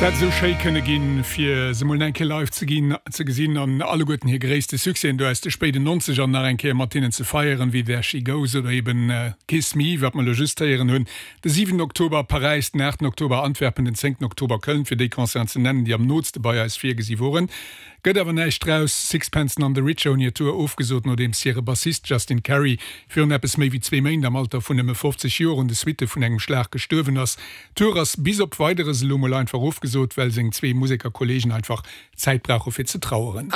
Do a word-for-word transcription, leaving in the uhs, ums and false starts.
Et hätt sou schéi kënne ginn, fir se mol eng Kéier live ze ginn ze gesinn an alleguerten hir gréisste Succèsen do aus de spéiden Nonzeger nach eng Kéier mat hinnen ze feieren, wéi There She Goes oder eben Kiss Me, wat mer lo just héieren hunn. De siwenten Oktober Paräis, den aachten Oktober Antwerpen, den zéngten Oktober Köln, fir déi Concerten ze nennen, déi am nootste bei eis virgesi woren. Gëtt awer näischt draus, Sixpence None the Richer hunn hir Tour ofgesot, nodeems hire Bassist Justin Carey virun eppes méi wéi zwee Méint am Alter vun nëmme fofzeg Joer un de Suitte vun engem Schlag gestuerwen ass. D'Tour ass bis op Weideres elo mol einfach ofgesot, well seng zwee Musekerkolleegen einfach Zäit brauche fir ze traueren.